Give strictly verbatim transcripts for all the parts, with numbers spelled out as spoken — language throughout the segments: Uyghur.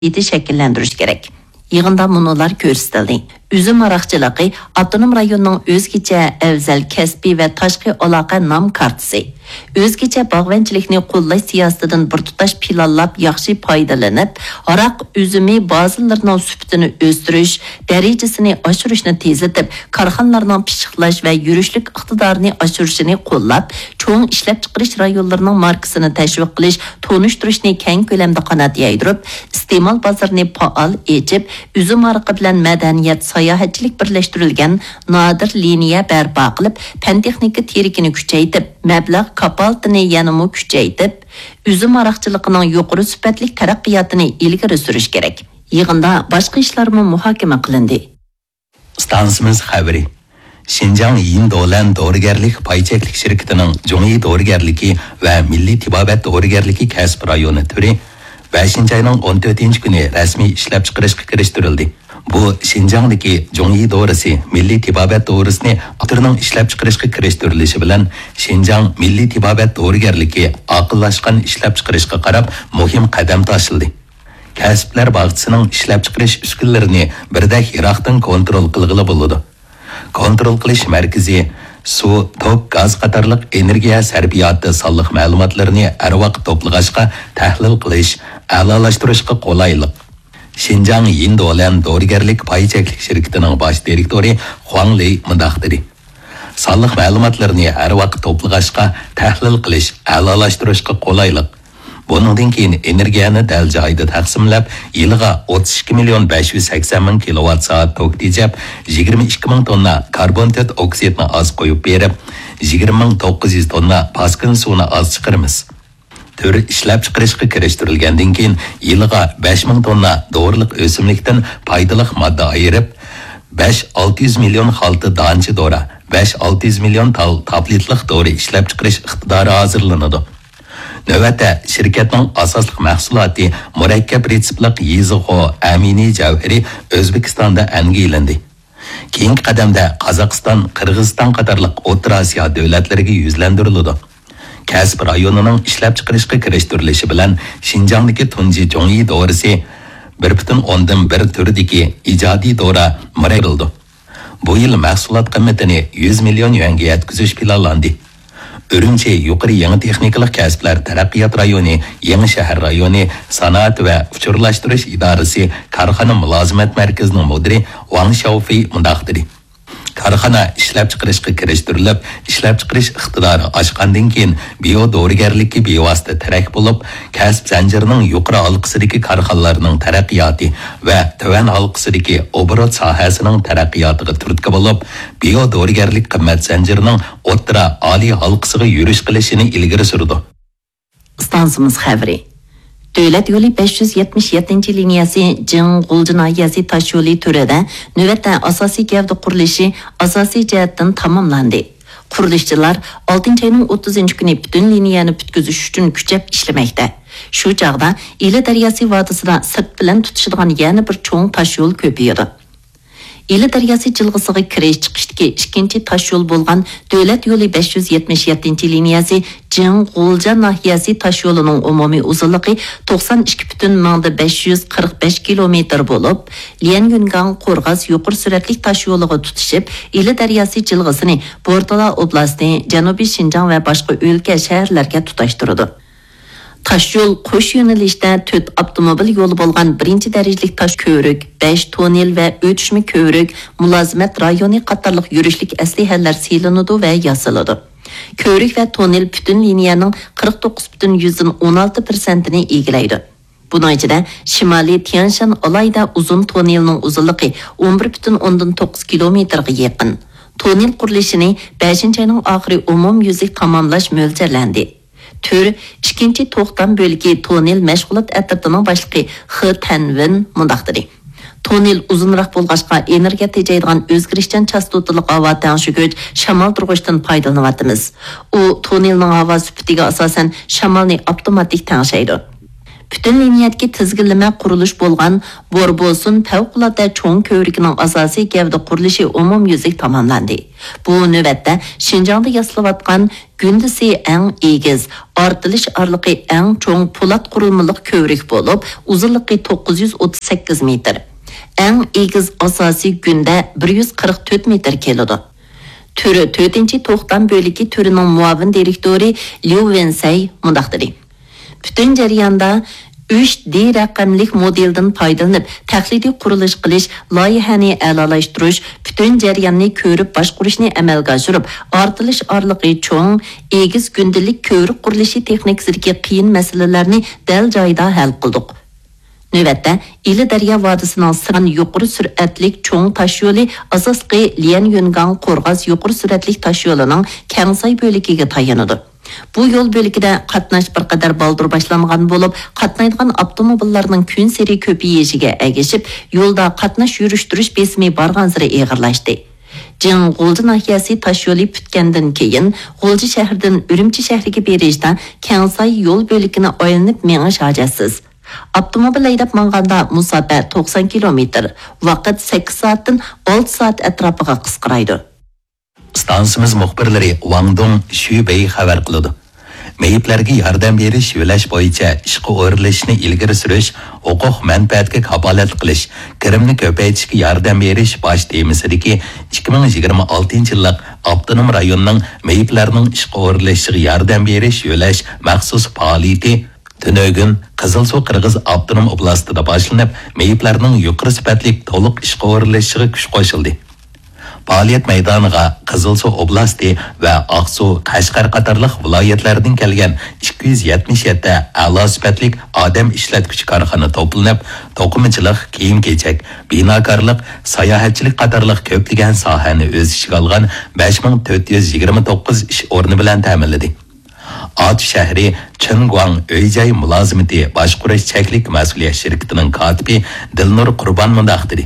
ئىقتىسادىيىتى شەكىللەندۈرۈش كېرەك. يىغىندا مۇنۇلار كۆرسىتىلدى: ئۈزۈم ھاراقچىلىقى ئاپتونوم رايوننىڭ ئۆزگىچە ئەۋزەل كەسپىي ۋە تاشقى ئالاقە نام كارتىسى. ئۆزگىچە باغۋەنچىلىكنى قوللاش سىياسىتىدىن بىر تۇتاش پىلانلاپ ياخشى پايدىلىنىپ، ھاراق ئۈزۈمى بازىلىرىنىڭ سۈپىتىنى ئۆستۈرۈش، دەرىجىسىنى ئاشۇرۇشنى تېزلىتىپ، كارخانىلارنىڭ پىششىقلاش ۋە يۈرۈشلۈك ئىقتىدارىنى ئاشۇرۇشىنى قوللاپ، چوڭ ئىشلەپچىقىرىش رايونلىرىنىڭ ماركىسىنى تەشۋىق قىلىش، تونۇشتۇرۇشنى كەڭ كۆلەمدە قانات يايدۇرۇپ، ئىستېمال بازىرىنى پائال ئېچىپ، ئۈزۈم ھارىقى بىلەن مەدەنىيەت، ساياھەتچىلىك بىرلەشتۈرۈلگەن نادىر لىنىيە بەرپا قىلىپ، پەن-تېخنىكا تىرىكىنى كۈچەيتىپ، مەبلەغ كاپالىتىنى يەنىمۇ كۈچەيتىپ، ئۈزۈم ھاراقچىلىقىنىڭ يۇقىرى سۈپەتلىك تەرەققىياتىنى ئىلگىرى سۈرۈش كېرەك. يىغىندا باشقا ئىشلارمۇ مۇھاكىمە قىلىندى. ئىستانسىمىز خەۋىرى. شىنجاڭ يىندولەن دورىگەرلىك پاي چەكلىك شىركىتىنىڭ جۇڭيى دورىگەرلىكى ۋە مىللىي تېبابەت دورىگەرلىكى كەسىپ رايونى تۈرى بەشىنچى ئاينىڭ ئون تۆتىنچى كۈنى رەسمىي ئىشلەپچىقىرىشقا كىرىشتۈرۈلدى. بۇ شىنجاڭدىكى جۇڭيى دورىسى مىللىي تېبابەت دورىسىنى ئاپتورنىڭ ئىشلەپچىقىرىشقا كىرىشتۈرۈلۈشى بىلەن شىنجاڭ مىللىي تېبابەت دورىگەرلىكى ئاقىللاشقان ئىشلەپچىقىرىشقا قاراپ مۇھىم قەدەم تاشلىدى. كەسىپلەر باغچىسىنىڭ ئىشلەپچىقىرىش ئۈسكۈنىلىرىنى بىردەك يىراقتىن كونترول قىلغىلى بولىدۇ. كونترول قىلىش مەركىزى سۇ، توك، گاز قاتارلىق ئېنېرگىيە سەرپىياتى سانلىق مەلۇماتلىرىنى ھەر ۋاقىت توپلىغاچقا، تەھلىل قىلىش، ئەلالاشتۇرۇشقا قولايلىق. شىنجاڭ يىندولەن دورىگەرلىك پاي چەكلىك شىركىتىنىڭ باش دىرېكتورى خۇاڭ لېي مۇنداق دېدى: سانلىق مەلۇماتلىرىنى ھەر ۋاقىت توپلىغاچقا، تەھلىل قىلىش، ئەلالاشتۇرۇشقا قولايلىق. بۇنىڭدىن كېيىن ئېنېرگىيەنى دەل جايىدا تەقسىملەپ، يىلىغا ئوتتۇز ئىككى مىليون بەش يۈز سەكسەن مىڭ كىلوۋات سائەت توك تېجەپ، يىگىرمە ئىككى مىڭ توننا كاربون تۆت ئوكسىدنى ئاز قويۇپ بېرىپ، يىگىرمە مىڭ توققۇز يۈز توننا پاسكىنا سۇنى ئاز چىقىرىمىز. تۈر ئىشلەپچىقىرىشقا كىرىشتۈرۈلگەندىن كېيىن، يىلىغا بەش مىڭ توننا دورىلىق ئۆسۈملۈكتىن پايدىلىق ماددا ئايرىپ، بەش ئالتە يۈز مىليون خالتا دانچە دورا، بەش ئالتە يۈز مىليون تال تابلېتلىق دورا ئىشلەپچىقىرىش ئىقتىدارى ھازىرلىنىدۇ. نۆۋەتتە شىركەتنىڭ ئاساسلىق مەھسۇلاتى مۇرەككەپ رېتسېپلىق يېزىغو ئەمىنى جەۋھىرى ئۆزبېكىستاندا ئەنگە ئېلىندى. كېيىنكى قەدەمدە قازاقىستان، قىرغىزىستان قاتارلىق ئوتتۇرا ئاسىيا دۆلەتلىرىگە يۈزلەندۈرۈلىدۇ. كەسىپ رايونىنىڭ ئىشلەپچىقىرىشقا كىرىشتۈرۈلۈشى بىلەن شىنجاڭدىكى تۇنجى جۇڭيى دورىسى بىر پۈتۈن ئوندىن بىر تۈردىكى ئىجادىي دورا مۇرەككەپ بۇ يىل مەھسۇلات قىممىتىنى يۈز مىليون يۈەنگە يەتكۈزۈش پىلانلاندى. ئۈرۈمچى يۇقىرى يېڭى تېخنىكىلىق كەسىپلەر تەرەققىيات رايونى، يېڭى شەھەر رايونى، سانائەت ۋە ئۇچۇرلاشتۇرۇش ئىدارىسى كارخانا مۇلازىمەت مەركىزىنىڭ مۇدىرى ۋاڭ شياۋفېي مۇنداق دېدى: كارخانا ئىشلەپچىقىرىشقا كىرىشتۈرۈلۈپ، ئىشلەپچىقىرىش ئىقتىدارى ئاشقاندىن كېيىن، بىيو دورىگەرلىككە بىۋاسىتە تىرەك بولۇپ، كەسىپ زەنجىرىنىڭ يۇقىرى ھالقىسىدىكى كارخانىلارنىڭ تەرەققىياتى ۋە تۆۋەن ھالقىسىدىكى ئوبوروت ساھەسىنىڭ تەرەققىياتىغا تۈرتكە بولۇپ، بىيو دورىگەرلىك قىممەت زەنجىرىنىڭ ئوتتۇرا، ئالىي ھالقىسىغا يۈرۈش قىلىشىنى ئىلگىرى سۈرىدۇ. ئىستانسىمىز خەۋىرى. دۆلەت يولى بەش يۈز يەتمىش يەتتىنچى لىنىيەسى جىڭ غۇلجا ناھىيەسى تاشيولى تۈرىدە نۆۋەتتە ئاساسىي گەۋدە قۇرۇلۇشى ئاساسىي جەھەتتىن تاماملاندى. قۇرۇلۇشچىلار ئالتىنچى ئاينىڭ ئوتتۇزىنچى كۈنى پۈتۈن لىنىيەنى پۈتكۈزۈش ئۈچۈن كۈچەپ ئىشلىمەكتە. شۇ چاغدا ئىلى دەرياسى ۋادىسىدا سىرت بىلەن تۇتىشىدىغان يەنە بىر چوڭ تاشيول كۆپىيىدۇ. ئىلى دەرياسى جىلغىسىغا كىرىش چىقىشتىكى ئىككىنچى تاشيول بولغان دۆلەت يولى بەش يۈز يەتمىش يەتتىنچى لىنىيەسى جىڭ غۇلجا ناھىيەسى تاشيولىنىڭ ئومۇمىي ئۇزۇنلۇقى توقسان ئىككى پۈتۈن مىڭدا بەش يۈز قىرىق بەش كىلومېتىر بولۇپ، ليەنيۈنگاڭ قورغاس يۇقىرى سۈرئەتلىك تاشيولىغا تۇتىشىپ، ئىلى دەرياسى جىلغىسىنى بورتالا ئوبلاستى، جەنۇبىي شىنجاڭ ۋە باشقا ئۆلكە، شەھەرلەرگە تۇتاشتۇرىدۇ. تاشيول قوش يۆنىلىشتە تۆت ئاپتوموبىل يولى بولغان بىرىنچى دەرىجىلىك تاش كۆۋرۈك، بەش توننېل ۋە ئۆتۈشمە كۆۋرۈك، مۇلازىمەت رايونى قاتارلىق يۈرۈشلۈك ئەسلىھەلەر سېلىنىدۇ ۋە ياسىلىدۇ. كۆۋرۈك ۋە توننېل پۈتۈن لىنىيەنىڭ قىرىق توققۇز پۈتۈن يۈزدىن ئون ئالتە پىرسەنتىنى ئىگىلەيدۇ. بۇنىڭ ئىچىدە شىمالىي تيەنشان ئالاھىدە ئۇزۇن توننېلنىڭ ئۇزۇنلۇقى ئون بىر پۈتۈن ئوندىن توققۇز كىلومېتىرغا يېقىن. توننېل قۇرۇلۇشىنى بەشىنچى ئاينىڭ ئاخىرى ئومۇميۈزلۈك تاماملاش مۆلچەرلەندى. تۈر ئىككىنچى توختام بۆلىكى توننېل مەشغۇلات ئەترىتىنىڭ باشلىقى خې تەنۋېن مۇنداق دېدى: توننېل ئۇزۇنراق بولغاچقا، ئېنېرگىيە تېجەيدىغان ئۆزگىرىشچان چاستوتىلىق ھاۋا تەڭشىگۈچ شامالدۇرغۇچتىن پايدىلىنىۋاتىمىز. ئۇ توننېلنىڭ ھاۋا سۈپىتىگە ئاساسەن شامالنى ئاپتوماتىك تەڭشەيدۇ. پۈتۈن لىنىيەدىكى تىزگىنلىمە قۇرۇلۇش بولغان بوربوسۇن پەۋقۇلئاددە چوڭ كۆۋرۈكىنىڭ ئاساسىي گەۋدە قۇرۇلۇشى ئومۇميۈزلۈك تاماملاندى. بۇ نۆۋەتتە شىنجاڭدا ياسىلىۋاتقان گۈندىسى ئەڭ ئېگىز، ئارتىلىش ئارىلىقى ئەڭ چوڭ پولات قۇرۇلمىلىق كۆۋرۈك بولۇپ، ئۇزۇنلۇقى توققۇز يۈز ئوتتۇز سەككىز مېتىر. ئەڭ ئېگىز ئاساسىي گۈندە بىر يۈز قىرىق تۆت مېتىر كېلىدۇ. تۈرى تۆتىنچى توختام بۆلىكى تۈرىنىڭ مۇئاۋىن دىرېكتورى ليۇ ۋېنسەي مۇنداق دېدى: پۈتۈن جەرياندا ئۈچ دى رەقەملىك مودېلدىن پايدىلىنىپ، تەقلىدىي قۇرۇلۇش قىلىش، لايىھەنى ئەلالاشتۇرۇش، پۈتۈن جەرياننى كۆرۈپ باشقۇرۇشنى ئەمەلگە ئاشۇرۇپ، ئارتىلىش ئارىلىقى چوڭ، ئېگىز گۈندىلىك كۆۋرۈك قۇرۇلۇشى تېخنىكىسىدىكى قىيىن مەسىلىلەرنى دەل جايىدا ھەل قىلدۇق. نۆۋەتتە، ئىلى دەريا ۋادىسىنىڭ سىران يۇقىرى سۈرئەتلىك چوڭ تاشيولى ئاساسلىقى ليەنيۈنگاڭ قورغاس يۇقىرى سۈرئەتلىك تاشيولىنىڭ كەڭساي بۆلىكىگە تايىنىدۇ. بۇ يول بۆلىكىدە قاتناش بىر قەدەر بالدۇر باشلانغان بولۇپ، قاتنايدىغان ئاپتوموبىللارنىڭ كۈنسېرى كۆپىيىشىگە ئەگىشىپ، يولدا قاتناش يۈرۈشتۈرۈش بېسىمى بارغانسېرى ئېغىرلاشتى. جىڭ غۇلجا ناھىيەسى تاشيولى پۈتكەندىن كېيىن، غۇلجا شەھىرىدىن ئۈرۈمچى شەھىرىگە بېرىشتە كەڭساي يول بۆلىكىنى ئايلىنىپ مېڭىش ھاجەتسىز. ئاپتوموبىل ھەيدەپ ماڭغاندا مۇساپە توقسان كىلومېتىر، ۋاقىت سەككىز سائەتتىن ئالتە سائەت ئەتراپىغا قىسقىرايدۇ. ئىستانسىمىز مۇخبىرلىرى ۋاڭ دۇڭ، شۈ بېي خەۋەر قىلىدۇ. مېيىپلەرگە ياردەم بېرىش يۆلەش بويىچە ئىشقا ئورۇنلىشىشنى ئىلگىرى سۈرۈش، ھوقۇق مەنپەئەتكە كاپالەتلىك قىلىش، كىرىمنى كۆپەيتىشكە ياردەم بېرىش باش تېمىسىدىكى ئىككى مىڭ يىگىرمە ئالتىنچى يىللىق ئاپتونوم رايوننىڭ مېيىپلەرنىڭ ئىشقا ئورۇنلىشىشىغا ياردەم بېرىش يۆلەش مەخسۇس پائالىيىتى تۈنۈگۈن قىزىلسۇ قىرغىز ئاپتونوم ئوبلاستىدا باشلىنىپ، مېيىپلەرنىڭ يۇقىرى سۈپەتلىك تولۇق ئىشقا ئورۇنلىشىشىغا كۈچ قوشۇلدى. پائالىيەت مەيدانىغا قىزىلسۇ ئوبلاستى ۋە ئاقسۇ، قەشقەر قاتارلىق ۋىلايەتلەردىن كەلگەن ئىككى يۈز يەتمىش يەتتە ئەلا سۈپەتلىك ئادەم ئىشلەتكۈچى كارخانا توپلىنىپ، توقۇمىچىلىق، كىيىم-كېچەك، بىناكارلىق، ساياھەتچىلىك قاتارلىق كۆپلىگەن ساھەنى ئۆز ئىچىگە ئالغان بەش مىڭ تۆت يۈز يىگىرمە توققۇز ئىش ئورنى بىلەن تەمىنلىدى. ئاتۇ شەھىرى چىنگۇاڭ ئۆي-جاي مۇلازىمىتى باشقۇرۇش چەكلىك مەسئۇلىيەت شىركىتىنىڭ كاتىپى دىلنۇر قۇربان مۇنداق دېدى: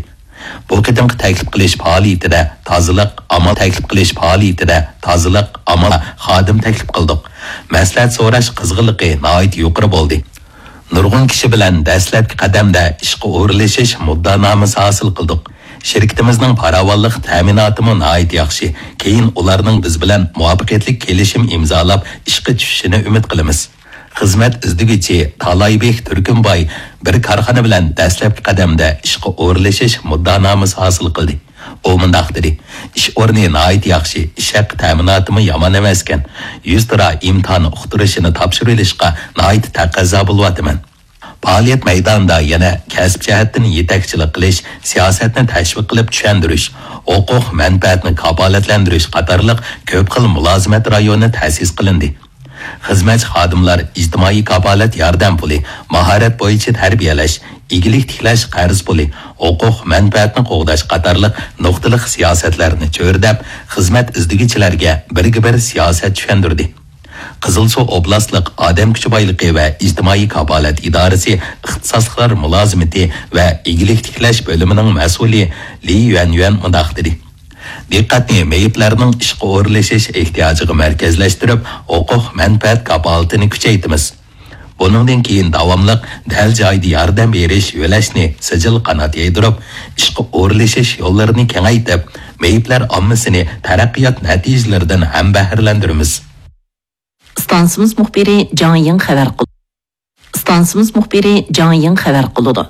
بۇ قېتىمقى تەكلىپ قىلىش پائالىيىتىدە تازىلىق، ئامال تەكلىپ قىلىش پائالىيىتىدە تازىلىق، ئامال، خادىم تەكلىپ قىلدۇق. مەسلىھەت سوراش قىزغىنلىقى ناھايىتى يۇقىرى بولدى. نۇرغۇن كىشى بىلەن دەسلەپكى قەدەمدە ئىشقا ئورۇنلىشىش مۇددىئانامىسى ھاسىل قىلدۇق. شىركىتىمىزنىڭ پاراۋانلىق تەمىناتىمۇ ناھايىتى ياخشى. كېيىن ئۇلارنىڭ بىز بىلەن مۇۋەپپەقىيەتلىك كېلىشىم ئىمزالاپ، ئىشقا چۈشۈشىنى ئۈمىد قىلىمىز. خىزمەت ئىزدىگۈچى تالايبېك تۈركۈمباي بىر كارخانا بىلەن دەسلەپكى قەدەمدە ئىشقا ئورۇنلىشىش مۇددىئانامىسى ھاسىل قىلدى. ئۇ مۇنداق دېدى: ئىش ئورنى ناھايىتى ياخشى، ئىش ھەققى تەمىناتىمۇ يامان ئەمەسكەن. يۈزتۇرا ئىمتىھان ئۇقتۇرۇشىنى تاپشۇرۇۋېلىشقا ناھايىتى تەقەززا بولۇۋاتىمەن. پائالىيەت مەيدانىدا يەنە كەسىپ جەھەتتىن يېتەكچىلىك قىلىش، سىياسەتنى تەشۋىق قىلىپ چۈشەندۈرۈش، ھوقۇق مەنپەئەتنى كاپالەتلەندۈرۈش قاتارلىق كۆپ خىل مۇلازىمەت رايونى تەسىس قىلىندى. خىزمەتچى خادىملار ئىجتىمائىي كاپالەت ياردەم پۇلى، ماھارەت بويىچە تەربىيەلەش، ئىگىلىك تىكلەش قەرز پۇلى، ھوقۇق مەنپەئەتنى قوغداش قاتارلىق نۇقتىلىق سىياسەتلەرنى چۆرىدەپ، خىزمەت ئىزدىگۈچىلەرگە بىرگە بىر سىياسەت چۈشەندۈردى. قىزىلسۇ ئوبلاستلىق ئادەم كۈچى بايلىقى ۋە ئىجتىمائىي كاپالەت ئىدارىسى ئىختىساسلىقلار مۇلازىمىتى ۋە ئىگىلىك تىكلەش بۆلۈمىنىڭ مەسئۇلى لى يۈەنيۈەن مۇنداق دېدى: دىققەتنى مېيىپلەرنىڭ ئىشقا ئورۇنلىشىش ئېھتىياجىغا مەركەزلەشتۈرۈپ، ھوقۇق مەنپەئەت كاپالىتىنى كۈچەيتىمىز. بۇنىڭدىن كېيىن داۋاملىق دەل جايىدا ياردەم بېرىش يۆلەشنى سىجىل قانات يايدۇرۇپ، ئىشقا ئورۇنلىشىش يوللىرىنى كېڭەيتىپ، مېيىپلەر ئاممىسىنى تەرەققىيات نەتىجىلىرىدىن ھەمبەھرىلەندۈرىمىز. ئىستانسىمىز مۇخبىرى جاڭ يىڭ خەۋەر قىلدى. ئىستانسىمىز مۇخبىرى جاڭ يىڭ خەۋەر قىلىدۇ.